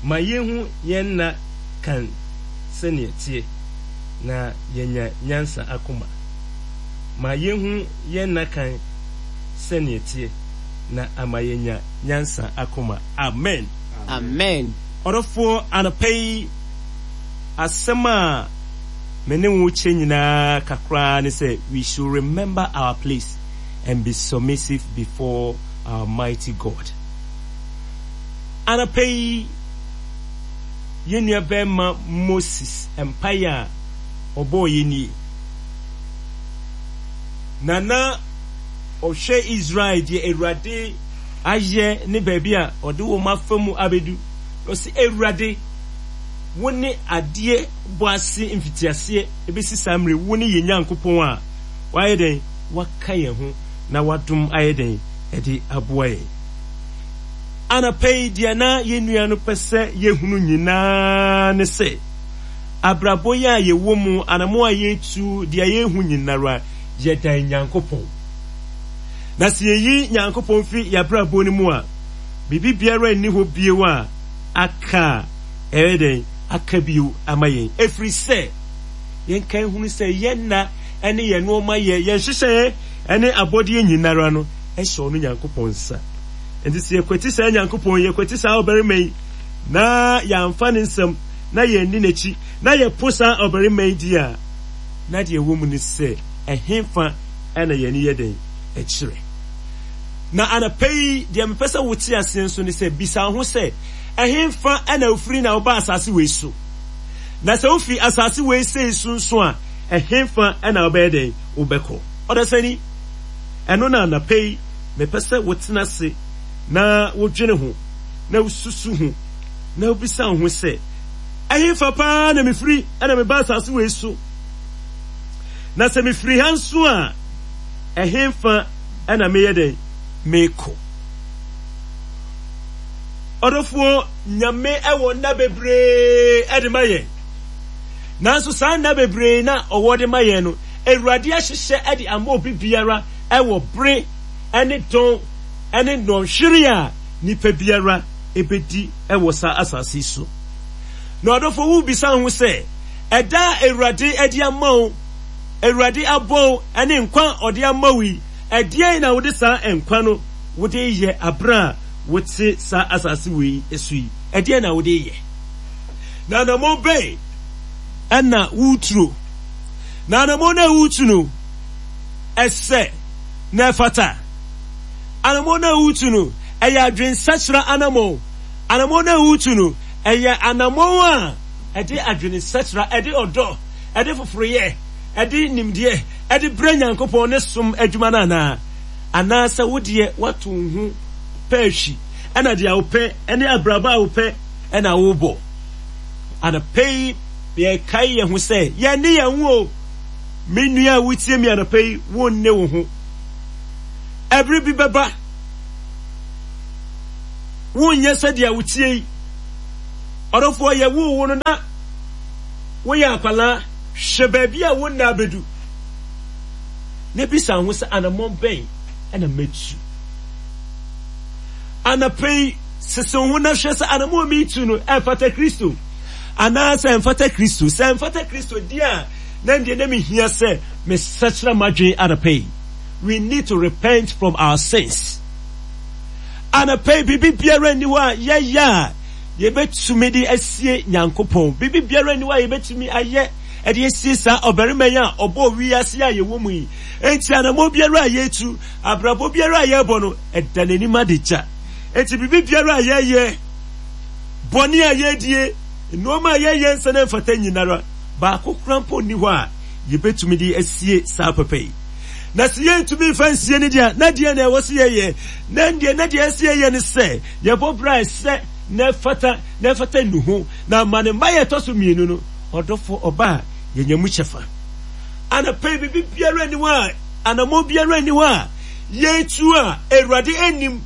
Ma yenhu yɛn nna kan sɛnea ɛteɛ, na yɛanya nyansa akoma. Ma yenhu yɛn nna kan sɛnea ɛteɛ, na ama yɛanya nyansa akoma. Amen. Amen. Ɔdɔfoɔ, anɔpa yi, asɛm a me ne wo kyɛ nyinaa kakra ne sɛ, we should remember our place and be submissive before our mighty God. Anɔpa yi, yɛn nuabarima Moses mpaeɛ a ɔbɔeɛ nie. Na na ɔhwɛ Israel deɛ Awurade ayɛ ne baabi a ɔde wɔn afa mu abɛdu. Na ɔse, Awurade, wo ne adeɛ bɔ ase mfitiaseɛ ɛbɛsi saa mmerɛ, wo ne yɛn Nyankopɔn a wayɛ dɛn, waka yɛn ho na wadom ayɛ dɛn ɛde aboa yɛn. Anɔpa yi, deɛ na yɛn nua no pɛ sɛ yɛhunu nyinaa ne sɛ, abrabɔ yi a yɛwɔ mu, anamɔ a yɛretu, deɛ yɛrehu nyinara, yɛdan Nyankopɔn. Na sɛ yɛyi Nyankopɔn firi yɛabrabɔ no mu a, biribi biara nni hɔ bio a aka a ɛyɛ dɛn aka bio ama yɛn. Ɛfiri sɛ, yɛnka nhunu sɛ yɛn nna ne yɛn nnoɔma yɛ, yɛn nhyehyɛeɛ ne abɔdeɛ nyinara no hyɛ ɔno Nyankopɔn nsa. Enti sɛ yɛkwati saa Nyankopɔn yi, yɛkwati saa ɔbarima yi, na yɛamfa ne nsɛm, na yɛanni n'akyi, na yɛpo saa ɔbarima yi di a, na deɛ ɛwɔ mu ne sɛ, ɛhefa na yɛn ani yɛ dɛn kyerɛ? Na anɔpa yi, deɛ mepɛ sɛ wote aseɛ nso ne sɛ, bisa wo ho sɛ, ɛhefa na wofiri na wobaa asase wei so? Na sɛ wofiri asase wei sei so nso a, ɛhefa na wobɛyɛ dɛn? Wobɛkɔ. Ɔdasani, ɛno na anɔpa yi, Mepɛ sɛ wotena ase na wodwene ho, na wususu ho, na wubisa wo ho sɛ, 'Ɛhefa paa na mifiri na meba asase wei so? Na sɛ mifiri ha nso a, ɛhefa na meyɛ dɛn mekɔ? Ɔdɔfoɔ, Nyame wɔ nna bebree de ma yɛn. Nanso saa nna bebree na ɔwɔ de ma yɛn no, Awurade ahyehyɛ de ama obi biara wɔ bere ne dɔn ne nnɔnhwere a nipa biara bedi wɔ saa asase yi so. Na ɔdɔfo, wubisa wo ho sɛ, ɛda a Awurade de ama wo, Awurade abɔ wo ne nkwa a ɔde ama wo yi, ɛdeɛn na wode saa nkwa no wode yɛ bere a wote saa asase wei so yi? Ɛdeɛn na wode yɛ? Na anammɔn bɛn na woreturo? Na anammɔn no a woretu no, ɛsɛ na ɛfata. Anammɔn no a woretu no, ɛyɛ adwensakyera anammɔn. Anammɔn no a woretu no, ɛyɛ anammɔn a ɛde adwensakyera, ɛde ɔdɔ, ɛde foforoyɛ, ɛde nimdeɛ, ɛde brɛ Nyankopɔn ne som adwuma no anaa? Anaasɛ wo deɛ woato wo ho pɛɛhwi, ɛna deɛ wopɛ ne abrabɔ a wopɛ ɛna wobɔ? Anɔpa yi, yɛkae yɛn ho sɛ yɛne yɛn ho o. Me nua a wotie me anɔpa yi, wonne wo ho. Ɛbere bi bɛba, wonyɛ sɛdeɛ wotie yi. Ɔdɔfoɔ, yɛwoo wo no na woyɛ akwadaa. Hwɛ baabi a wo nna abɛdu, na bisa ho sɛ, anammɔn bɛn na mɛtu? Anɔpa yi, sese wo ho na hwɛ sɛ anammɔn a meretu no, ɛfata Kristo anaasɛ ɛmfata Kristo. Sɛ ɛmfata Kristo deɛ a, na ɛndeɛ na mehia sɛ mesakyera m'adwene anɔpa yi. We need to repent from our sins. Anɔpa yi, biribi biara nni hɔ a yɛyɛ a yɛbɛtumi de asie Nyankopɔn. Biribi biara nni hɔ a yɛbɛtumi ayɛ de asie saa ɔbarima yi a ɔbɔɔ wiase a yɛwɔ mu yi. Enti anammɔn biara a yɛtu, abrabɔ biara a yɛbɔ no, ɛda n'anim adagya. Enti biribi biara a yɛyɛ, bɔne a yɛdie, nnoɔma a yɛyɛ nsa na ɛmfata nyinara, Baako koraa mpo nni hɔ a yebetumi de asie saa papa yi. Na sɛ yɛrentumi mfa nsie no deɛ a, na deɛn na ɛwɔ sɛ yɛyɛ? Na ɛndeɛ, na deɛ ɛsɛ sɛ yɛyɛ ne sɛ, yɛbɔ bra a ɛsɛ na ɛfata, na ɛfata nnuho, na ama ne mma a ɛtɔ so mmienu no, ɔdɔfoɔ ɔba a yɛnya mu kyɛfa. Anɔpa yi, biribi biara nni hɔ a, anammɔn biara nni hɔ a yɛretu a Awurade nnim.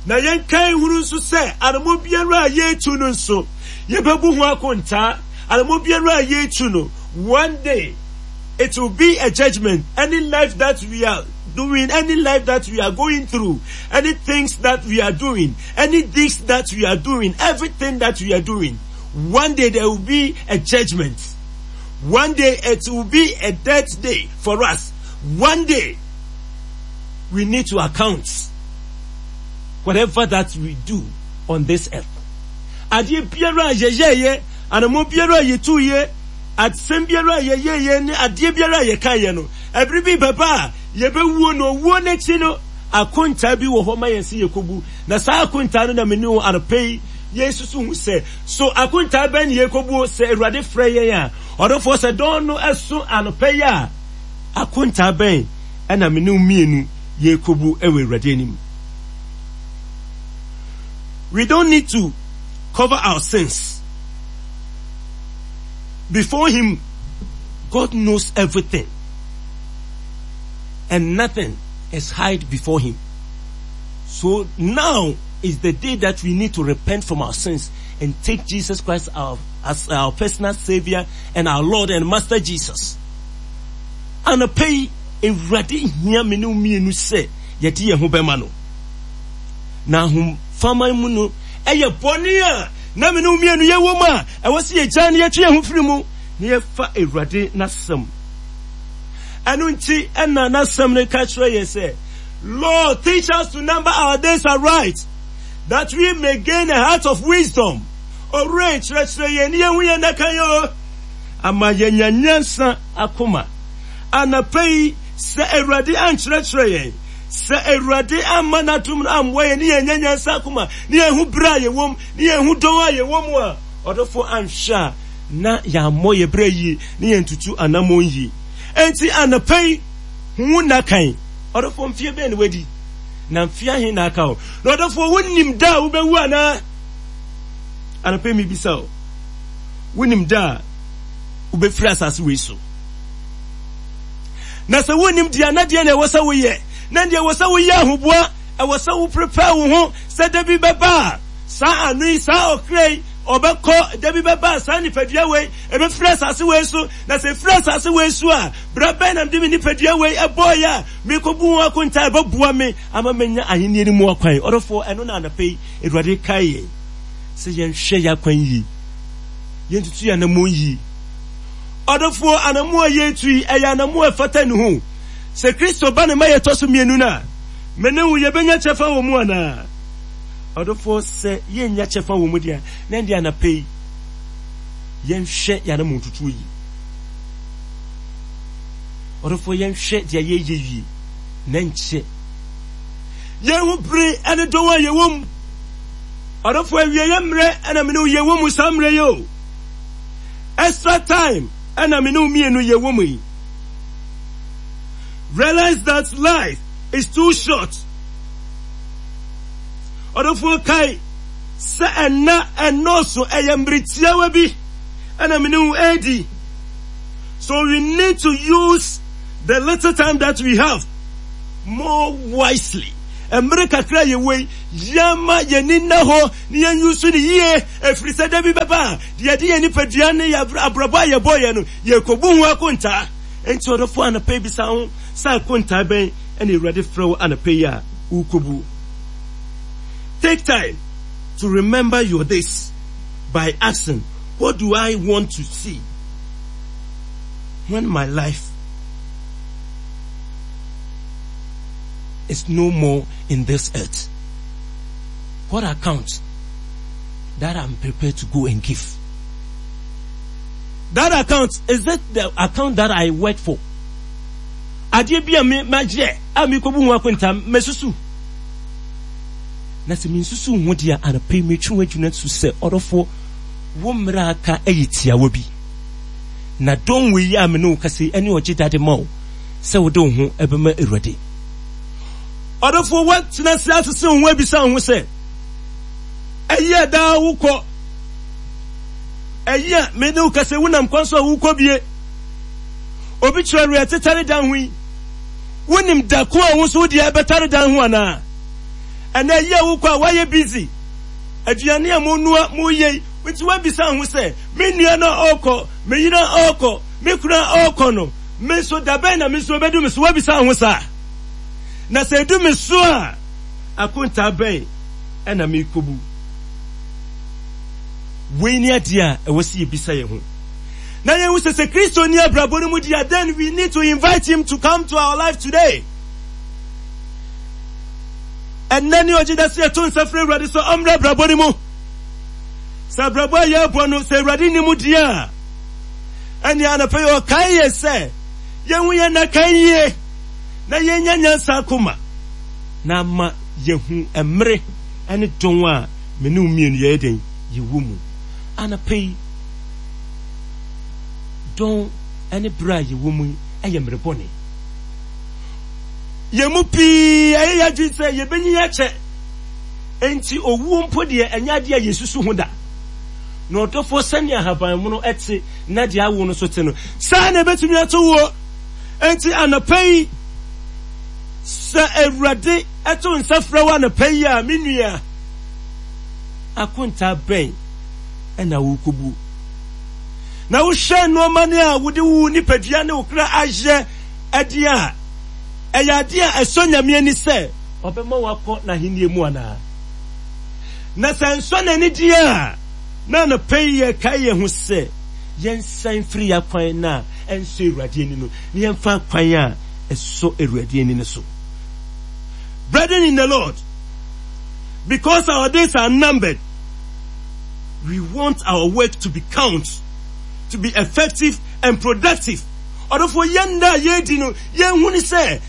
Na yɛnkae nhunu nso sɛ anammɔn biara a yɛretu no nso, Yɛbɛbu ho akontaa. Anammɔn biara a yɛretu no, one day it will be a judgment. Any life that we are doing, any life that we are going through, any things that we are doing, any deeds that we are doing, everything that we are doing, one day there will be a judgment. One day it will be a death day for us. One day we need to account whatever that we do on this earth. Adeɛ biara a yɛyɛeɛ, anammɔn biara a yɛtuiɛ, asɛm biara a yɛyɛeɛ ne adeɛ biara a yɛkaeɛ no, ɛbere bi bɛba a yɛbɛwuo na owuo no akyi no, akontaa bi wɔ hɔ ma yɛn sɛ yɛkɔbu. Na saa akontaa no na me ne wo anɔpa yi yɛsusu ho sɛ, so akontaa bɛn ne yɛkɔbuo sɛ Awurade frɛ yɛn a? Ɔdɔfoɔ, sɛ dɔn no ɛso anɔpa yi a, akontaa bɛn ɛna me ne wo mmienu yɛrekɔbu wɔ Awurade anim? We don't need to cover our sins. Before Him, God knows everything. And nothing is hid before Him. So now is the day that we need to repent from our sins and take Jesus Christ our, as our personal Savior and our Lord and Master Jesus. Anɔpa yi, Awurade hia me ne wo mmienu sɛ yɛde yɛn ho bɛma no. Na ahofama mu no, ɛyɛ bɔne a na me ne wo mmienu yɛwɔ mu a ɛwɔ sɛ yɛgyaa no yɛtwe yɛn ho firi mu na yɛfa Awurade n'asɛm. Ɛno nti ɛna n'asɛm no ka kyerɛ yɛn sɛ, Lord, teach us to number our days aright, that we may gain a heart of wisdom. Owura kyerɛkyerɛ yɛn ne yɛn ho yɛn nna kan o, ama yɛanya nyansa akoma. Anɔpa yi, sɛ Awurade ankyerɛkyerɛ yɛn, sɛ Awurade amma n'adom no ammoa yɛn ne yɛanya nyansa akoma, ne yɛahu berɛ a yɛwɔ mu, ne yɛahu dɔn a yɛwɔ mu a, ɔdɔfoɔ anhwɛ a na yɛammɔ yɛn berɛ yie, ne yɛntutu anammɔn yie. Enti anɔpa yi, hu wo nna kan. Ɔdɔfoɔ, mfeɛ bɛn na wadi? Na mfeɛ ahe na aka wo? Na ɔdɔfoɔ, wonim da a wobɛwu anaa? Anɔpa yi mebisa wo, wonim da a wobɛfiri asase wei so? Na sɛ wonnim deɛ a, na deɛ na ɛwɔ sɛ woyɛ? Na deɛ ɛwɔ sɛ woyɛ ahoboa, ɛwɔ sɛ wo prepare wo ho sɛ da bi bɛba a, saa ano yi, saa ɔkra yi, ɔbɛkɔ, da bi bɛba a, saa nipadua wei, ɛbɛfiri asase wei so, na sɛ ɛfiri asase wei so a, berɛ bɛn na mede me nipadua wei ɛbɔeɛ a, merekɔbu ho akonta a ɛbɛboa me ama manya ahennie no mu akwan? Ɔdɔfoɔ, ɛno na anɔpa yi Awurade kae yɛn sɛ yɛnhwɛ yɛn akwan yie, yɛntutu yɛn anammɔn yie. Ɔdɔfoɔ, anammɔn a yɛretu yi, ɛyɛ anammɔn a ɛfata ne ho. Sɛ Kristo ba ne ma yɛtɔ so mmienu no a, me ne wo yɛbɛnya kyɛfa wɔ mu anaa? Ɔdɔfoɔ, sɛ yɛnnya kyɛfa wɔ mu deɛ a, na ɛnde anapa yi, yɛnhwɛ yɛn anammɔn tutuo yie. Ɔdɔfoɔ, yɛnhwɛ deɛ yɛreyɛ yie, na nkyɛ yɛn ho bere ne dɔn a yɛwɔ mu. Ɔdɔfoɔ, awieeɛ mmerɛ na me ne wo yɛwɔ mu saa mmerɛ yi o. Extra time ɛna me ne wo mmienu yɛ wɔ mu yi. Realize that life is too short. Ɔdɔfoɔ kae sɛ ɛnna ɛnnɔɔso ɛyɛ mmere tiawa bi ɛna me ne wo ɛredi. So we need to use the little time that we have more wisely. Mmere kakra yɛ wɔ yi, yɛma yɛn ani nna hɔ na yɛn use no yie, ɛfiri sɛ da bi bɛba a, deɛ yɛde yɛn nipadua ne yɛn abrabɔ a yɛbɔeɛ no, yɛrekɔbu ho akontaa. Enti ɔdɔfoɔ, anɔpa yi bisa wo ho sɛ akontaa bɛn na Awurade frɛ wo anɔpa yi a worekɔbu? Take time to remember your days by asking, what do I want to see when my life is no more in this earth? What account that I'm prepared to go and give? That account, is it the account that I work for? Adeɛ bi a me magyɛ a mekɔbu ho akonta mɛsusu. Na sɛ mensusu ho deɛ anɔpa yi metwe w'adwene so sɛ ɔdɔfoɔ wo mmerɛ aka yɛ tiawa bi. Na dɔn wei a me ne wo kasa yi ɛne ɔgye dade ma wo sɛ wode wo ho ɛbɛma Awurade. Ɔdɔfoɔ woatena ase asese wo ho abisa wo ho sɛ, ɛyi a daa wokɔ, ɛyi a me ne wo kasa wonam kwan so a wokɔ bie, obi kyerɛ werɛ tetare dan ho yi, wonim da ko a wo nso wo deɛ ɛbɛtare dan ho anaa? Ɛnɛ ɛyi a wokɔ a woayɛ busy, aduane a monoa moyɛ yi, nti woabisa ho sɛ, me nua no a ɔrekɔ, me yere a ɔrekɔ, me kunu a ɔrekɔ no, me nso da bɛn na me nso ɛbɛdu me so? Woabisa ho saa? Na sɛ edu me so a, akontaa bɛn na merekɔbu? Wei ne adeɛ a ɛwɔ sɛ yɛbisa yɛn ho. Na yɛhu sɛ sɛ Kristo nni abrabɔ no mu di a, then we need to invite him to come to our life today. Ɛnnɛ ne ɔgye da sɛ yɛto nsa frɛ Awurade sɛ ɔmmra abrabɔ no mu. Sɛ abrabɔ a yɛrebɔ no, sɛ Awurade nni mu di a, ɛnneɛ anɔpa yi ɔkae yɛ sɛ yɛhu yɛn nna kan yie na yɛnya nyansa akoma na ama yɛhu mmere ne dɔn a me ne wo mmienu yɛyɛ dɛn yɛwɔ mu. Anɔpa yi, dɔn ne berɛ a yɛwɔ mu yi yɛ mmere bɔne. Yɛn mu pii ayɛ yɛn adwene sɛ yɛbɛnyin akyɛ, enti owuo mpo deɛ ɛnyɛ adeɛ a yɛsusu ho da. Na ɔdɔfoɔ, sɛnea ahabanmono te na deɛ awo no so te no, saa na ɛbɛtumi ato woɔ. Enti anɔpa yi, sɛ Awurade to nsa frɛ wo anɔpa yi a, me nua, akontaa bɛn na worekɔbuo? Na wohwɛ nneɛma no a wode wo nipadua ne wo kra ayɛ ɛdeɛ a, ɛyɛ adeɛ a ɛsɔ Nyame ani sɛ ɔbɛma woakɔ n'ahennie mu anaa? Na sɛ ɛnsɔ n'ani deɛ a, na anɔpa yi yɛrekae yɛn ho sɛ yɛnsan mfiri yɛn akwan no a ɛnsɔ Awurade ani no, na yɛmfa akwan a ɛsɔ Awurade ani no so. Brethren in the Lord, because our days are numbered, we want our work to be count, to be effective and productive. Ɔdɔfoɔ, yɛn nna a yɛredi no, yɛnhu ne sɛ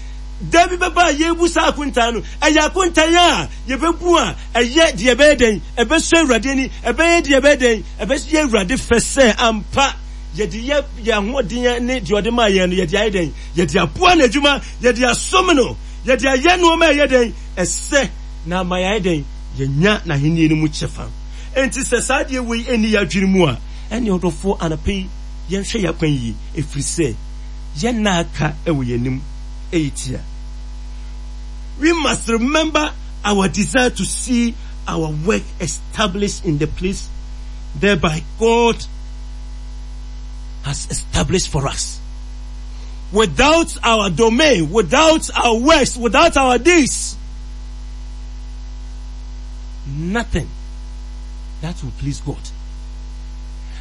da bi bɛba a yɛrebu saa akontaa no. Ɛyɛ akontaa a yɛbɛbu a ɛyɛ deɛ ɛbɛyɛ dɛn? Ɛbɛsɔ Awurade ani. Ɛbɛyɛ deɛ ɛbɛyɛ dɛn? Ɛbɛyɛ Awurade fɛ sɛ ampa yɛde yɛ yɛn ahoɔden ne deɛ ɔde maa yɛn no, yɛde ayɛ dɛn? Yɛde aboa n'adwuma, yɛde asom no, yɛde ayɛ nneɛma a ɛyɛ dɛn? Ɛsɛ na ama yɛayɛ dɛn? Yɛanya n'ahenni no mu kyɛfa. Enti sɛ saa adeɛ wei nni yɛn adwene mu a, ɛnneɛ ɔdɔfoɔ, anɔpa yi, Yɛnhwɛ yɛn akwan yie, ɛfiri sɛ yɛn nna a aka wɔ yɛn anim yɛ tia. We must remember our desire to see our work established in the place thereby God has established for us. Without our domain, without our works, without our deeds, nothing that will please God.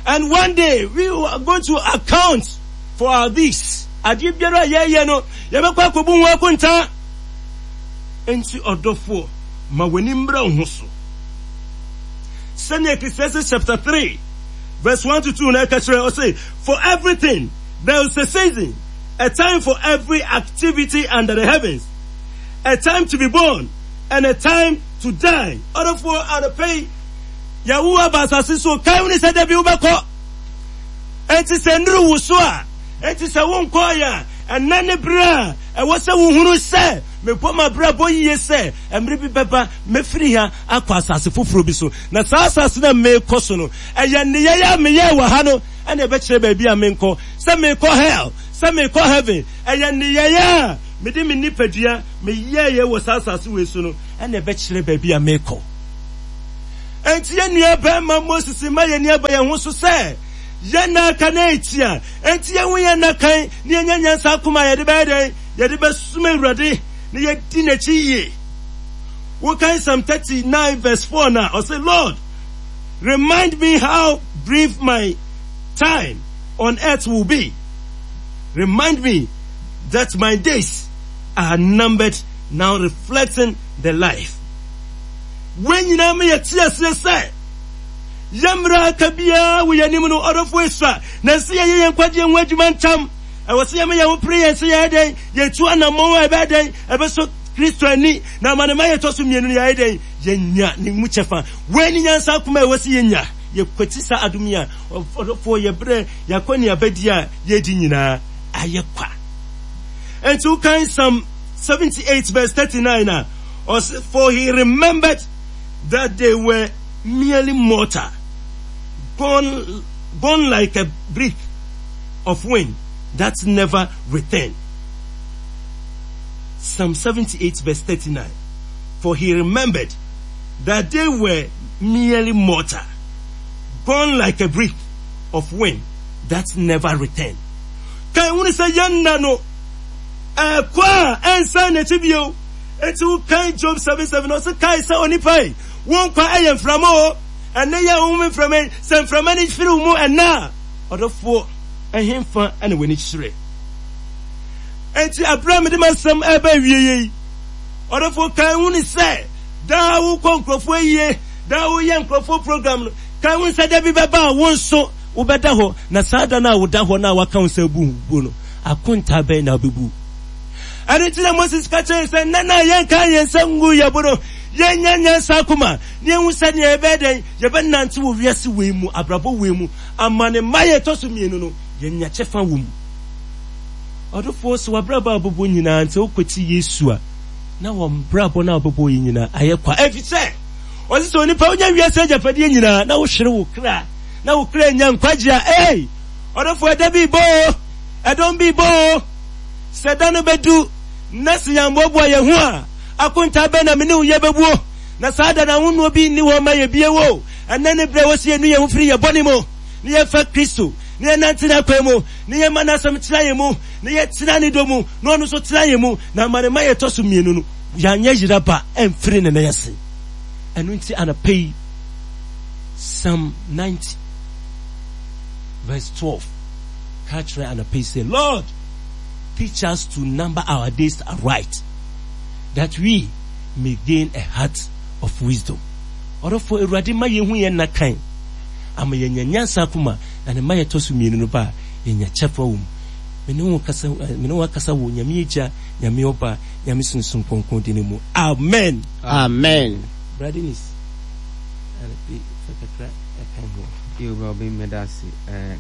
And one day we are going to account for our deeds. Adeɛ biara a yɛyɛ no, yɛbɛkɔ akɔbu ho akontaa. Enti ɔdɔfoɔ, ma w'ani mmra wo ho so. Sɛnea Ecclesiastes chapter 3 verse 1 to 2 na ɛka kyerɛ ɔse, For everything there is a season, a time for every activity under the heavens, a time to be born and a time to die. Ɔdɔfoɔ, anɔpa yi, Yɛawo wo aba asase so. Kae wo ne sɛ da bi wobɛkɔ. Enti sɛ nnuru wo so a, enti sɛ wonkɔɔeɛ a, ɛnnɛ ne berɛ a ɛwɔ sɛ wohunu sɛ mebɔ m'abrabɔ yie sɛ mmerɛ bi bɛba mɛfiri ha akɔ asase foforɔ bi so. Na saa asase no a merekɔ so no, ɛyɛ nneyɛeɛ a meyɛɛ wɔ ha no na ɛbɛkyerɛ baabi a menkɔ, sɛ merekɔ hell, sɛ merekɔ heaven. Ɛyɛ nneyɛeɛ a mede me nipadua meyɛeɛ wɔ saa asase wei so no na ɛbɛkyerɛ baabi a merekɔ. Enti yɛn nua barima Moses mma yɛn ani aba yɛn ho so sɛ yɛn nna aka na etia. Enti yɛnhu yɛn nna kan na yɛnya nyansa akoma a yɛde bɛyɛ dɛn? Yɛde bɛsom Awurade na yɛadi n'akyi yie. Wokan Psalm 39 verse 4 no a, ɔse, Lord, remind me how brief my time on earth will be. Remind me that my days are numbered now reflecting the life. Wei nyinaa ma yɛte aseɛ sɛ yɛn mmerɛ a aka biara wɔ yɛn anim no, ɔdɔfoɔ esua, na ɛsɛ sɛ yɛyɛ yɛn nkwagyeɛ ho adwuma ntam. Ɛwɔ sɛ yɛma yɛn ho pere yɛn sɛ yɛyɛ dɛn? Yɛtu anammɔn a ɛbɛyɛ dɛn? Ɛbɛsɔ Kristo ani, na ama ne ma yɛtɔ so mmienu no yɛayɛ dɛn? Yɛnya ne mu kyɛfa. Wei ne nyansa akoma a ɛwɔ sɛ yɛnya. Yɛkwati saa adom yi a, ɔdɔfoɔ, yɛbrɛ yɛakɔneabadie a yɛredi nyinaa ayɛ kwa. Enti wokan Psalm 78 verse 39 a, Ɔse, For he remembered that they were merely mortal, gone, gone like a breath of wind that never return. Psalm 78 verse 39. For he remembered that they were merely mortal, gone like a breath of wind that never return. Kan hunu sɛ yɛn nna no ɛkɔ a ɛnsan n'akyi bio. Enti wokan Job 7:7 ɔse kae sɛ onipa yi, wo nkwa ɛyɛ mframa o. Ɛnɛ yi a wohome mframa yi, sɛ mframa no firi wo mu ɛnɛ a, ɔdɔfoɔ, ɛhefa na w'ani kyerɛ? Enti ɛberɛ a mede m'asɛm ɛreba awieɛ yi, ɔdɔfoɔ kae hunu sɛ daa wokɔ nkurɔfoɔ ayie, daa woyɛ nkurɔfoɔ program no, kae hunu sɛ da bi bɛba a wo nso wobɛda hɔ, na saa da no a woda hɔ no a waka wo sɛ bu bu no, akontaa bɛn na wobɛbu? Ɛno nti na Moses ka kyerɛ sɛ nnɛ no a yɛnka yɛn nsa ngu yɛn bo no, yɛnya nyansa akoma na yɛhu sɛnea yɛbɛyɛ dɛn yɛbɛnante wɔ wiase wei mu, abrabɔ wei mu, ama ne mma yɛ ɛtɔ so mmienu no, yɛnya kyɛfa wɔ mu. Ɔdɔfoɔ, sɛ w'abrabɔ a wobɛbɔ nyinaa nti wokɔti Yesu a, na wɔn brabɔ no a wobɛbɔ yi nyinaa ayɛ kwa. Ɛfiri sɛ, ɔse sɛ onipa wonya wiase agyapadeɛ nyinaa na wohwere wo kra, na wo kra nya nkwagye a, ei, ɔdɔfoɔ, ɛda bi bɔ o, ɛdɔm bi bɔ o. Sɛ da no bɛdu na sɛ yɛammoaboa yɛn ho a, akontaa bɛn na me ne wo yɛbɛbuo? Na saa da no ahonnoɔ bi nni hɔ mma yɛn bio o. Ɛnnɛ ne berɛ a ɛwɔ sɛ yɛnu yɛn ho firi yɛn bɔne mu, na yɛfa Kristo, na yɛnante N'akwan mu, na yɛma N'asɛm tena yɛn mu, na yɛtena Ne dɔ mu, na Ɔno nso tena yɛn mu, na ama Ne mma yɛtɔ so mmienu no, yɛanyɛ yera ba amfiri Ne nan ase. Ɛno nti anɔpa yi, Psalm 90 verse 12 ka kyerɛ anɔpa yi sɛ, Lord, teach us to number our days aright, that we may gain a heart of wisdom. Ɔdɔfoɔ, Awurade ma yɛhu yɛn nna kan, ama yɛanya nyansa akoma, na ne mma yɛtɔ so mmienu no ba a, yɛnya kyɛfa wɔ mu. Me ne wo kasa, me ne wo akasa wɔ Nyame Agya, Nyame Ɔba, Nyame Sunsum Kronkron din mu. Amen. Amen. Bra Dennis, fa kakra ɛka ho. Yo, bra Obeng, meda ase. Eh,